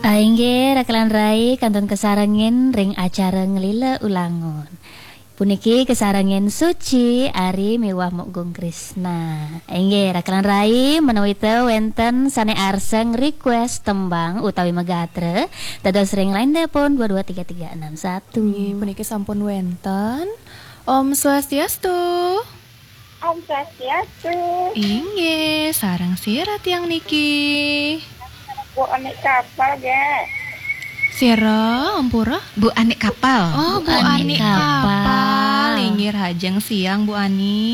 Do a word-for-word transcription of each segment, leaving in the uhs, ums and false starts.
Inggih, rakelan rai kantun kasarengin ring acara nglila ulangun. Puniki kasarengin Suci, Ari miwah Mok Gung Krisna. Inggih, rakelan rai, menawi ta wenten sane arseng request tembang utawi magatra, dados ring line telepon dua dua tiga tiga enam satu. Inggih, puniki sampun wenten. Om Swastiastu. Om Swastiastu. Inggih, sareng sira tiang niki. Bu Anik Kapal, ge. Sira, ampura? Bu Anik Kapal. Oh, Bu Bu Anik Anik Kapal. Kapal. Inggih, rahajeng siang, Bu Ani.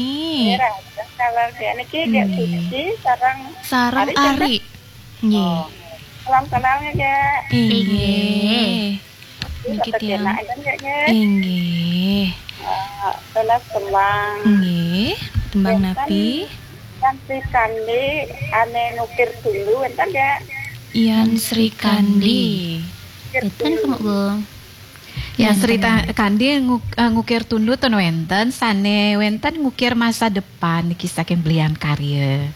Inggih, rahajeng siang, niki, ge, Inggih. Suci, sareng Sareng Ari, Ari. Nggih. Oh. Salam kenal, ge. Inggih. Inggih. Niki tiang. Enak, kan, ge, ge? Inggih. Eh, tunas tembang. Nggih, tembang Wenten napi? Yan Sri Kandi ane ngukir tundu, wenten, ge? Yan Sri Kandi. Ngukir Wenten, tundu. Kemuk Gung. Yan Sri Wenten. Ta-, Kandi nguk-, eh, ngukir tundu ten wenten, sane wenten ngukir masa depan niki saking Belian Karya.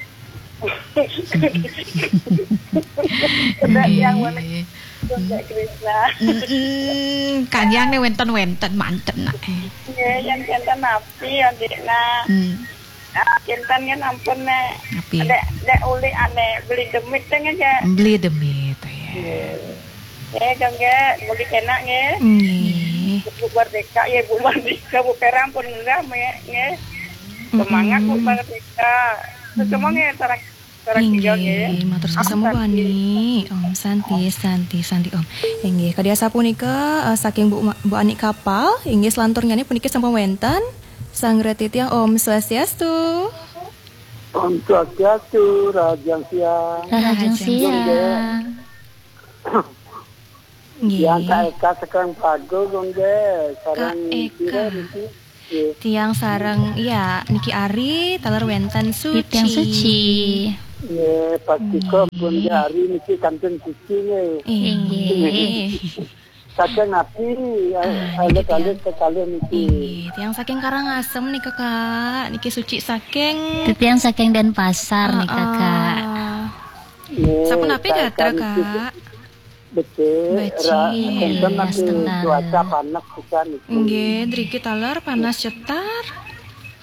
Sudah yang mana? Nggih. Sudah Krisna. Mm-mm. Kang Yang ne wenten-wenten manten nak. Nggih, yang wenten napi, adikna? Hmm. Ah, kinten kan ampun, Nek. Napi? Dek, dek uli ane beli demit kan aja. Beli demit, ya. Nggih. Eh, dong, nggih, mugi kenak, nggih. Nggih. Bu Mardika, ya, Bu Mardika, Bu Perang pun enggak, nggih. Semangat, Bu Mm-mm. Mardika. Terus semua, nggih, sareng, sareng tiga, nggih. Inggih, matur suksma, Bu Santi. Ani. Om Santi, Santi, Santi, Om. Inggih, kadi asapunika, eh, saking Bu Ma-, Bu Ani Kapal, inggih, selanturnya puniki sampun wenten. Sang Reti tiang, Om Swastiastu. Om Swastiastu, rahajeng siang. Rahajeng Rahajeng siang. Nggih. Yang Kak Eka saking Pago, nggih, sareng Kak Eka. Sira niki. Nggih. Tiang sareng, ya, niki Ari, taler wenten Suci. Tiang Suci. Nggih, pastika pun nggih Ari niki kantun suci, nggih. Inggih. Saking napi, ah, alit-alit kekalih niki. Inggih, tiang saking Karangasem nika, Kak. Niki Suci saking Tiang saking Denpasar nika, Kak. Heeh. Nggih, sapunapi Kak Eka gatra, niki Kak? Becik, becik. Ra-, enten nggih, niki astungkara. Cuaca panas pisan niki. Nggih, driki taler panas cetar.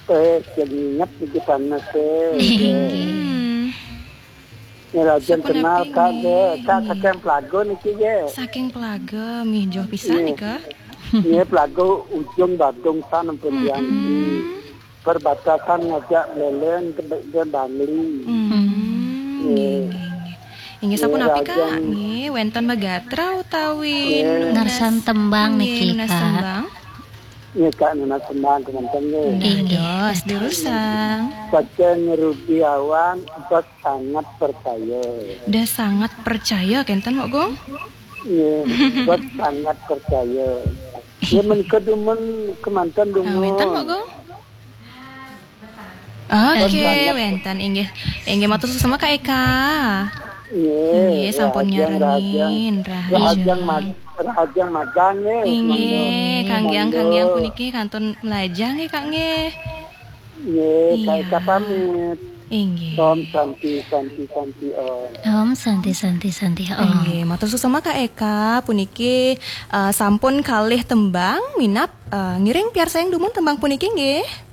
Eh, senyap niki panas, eh. Nggih. Hmm. Nggih, rahajeng kenal, Kak, nggih. Kak, saking Pelago niki, nggih. Saking Pelago, mih, joh pisan nika. Nggih, Pelago ujung Badung san ampun tiang niki. Mm-mm. Perbatasan ngajak Buleleng ke Be-, ke Bangli. Hmm. Nggih. Nggih, nggih, nggih. Inggih, sapunapi, Kak? Nggih, wenten magatra utawi nunas, ngarsan tembang niki, nunas tembang? Nggih, Kak, nunas tembang kemanten, nggih. Nggih, dados, durusang. Saking Rudi Awan, Bos Sangat Percaya. Dah sangat percaya, kenten, Mok Gung? Nggih, Bos Sangat Percaya. Ya, menika dumun kemanten. Ah, dumun. Wenten, Mok Gung? Oke, wenten, inggih. Inggih, matur suksma, Kak Eka. Nggih, sampun nyarengin, rahajeng, rahajeng. Rahajeng mag-, rahajeng magang, nggih. Inggih, Kang Giang, Kang Giang puniki kantun melajah, nggih, Kak, nggih. Nggih, Kak Eka pamit. Inggih. Om Santi, Santi, Santi, Om. Om Santi, Santi, Santi, Om. Inggih, matur suksma, Kak Eka, puniki, eh, sampun kalih tembang, minab, eh, ngiring piarsayang dumun tembang puniki, nggih.